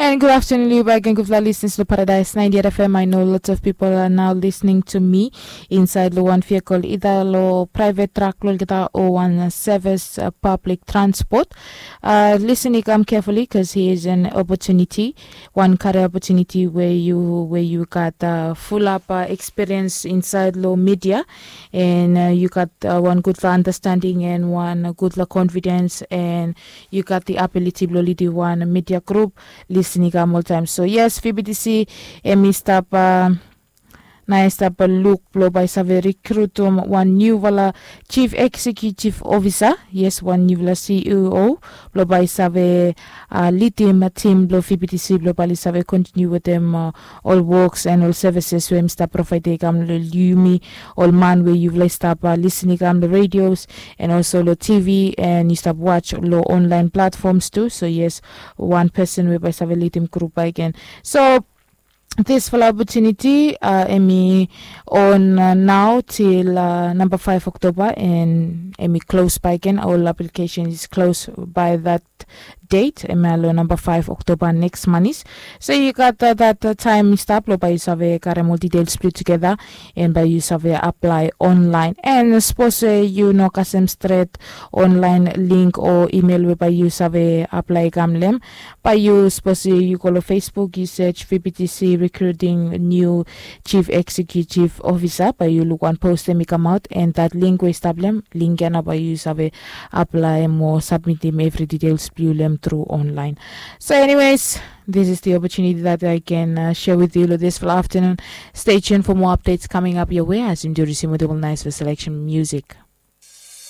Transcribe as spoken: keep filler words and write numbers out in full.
And good afternoon, Liu Bag, and good listeners to Paradise ninety-eight F M. I know lots of people are now listening to me inside lo wan vehicle, either lo private truck lo kita o wan service, uh, public transport. Uh, listen, you come carefully because here is an opportunity, one career opportunity where you where you got uh, full up uh, experience inside lo media, and uh, you got uh, one good understanding and one good confidence, and you got the ability blo lead one media group. Listening am all time. So yes, V B T C, em i stap uh, na i stap uh, luk blo bai save recruit um, one new vala chief executive officer. Yes, one new vala C E O blo bai save uh, lead him a team blo V B T C blo bai save continue with them uh, all works and all services we em stap provide i kam lo yumi, all man we you like stap uh, listening i kam lo radios and also lo T V and you stap watch lo online platforms too. So yes, one person we bai save lead him group again. So this full opportunity uh, em i on uh, now till uh, number five October, and em i close by again. All application is close by that date, em i lo number five October next month. So you got uh, that uh, time stop lo bai you save karem all details put together, and bai you save apply online. And suppose uh, you no kasem straight online link or email we bai you save apply kam lem, bai you suppose uh, you go lo Facebook, you search V B T C recruiting new chief executive officer, bai you look one post em i come out, and that link we stop lem link ya na bai you save apply mo submit him every details blue lem through online. So anyways, this is the opportunity that I can uh, share with you this afternoon. Stay tuned for more updates coming up your way as you do receive with nice selection music.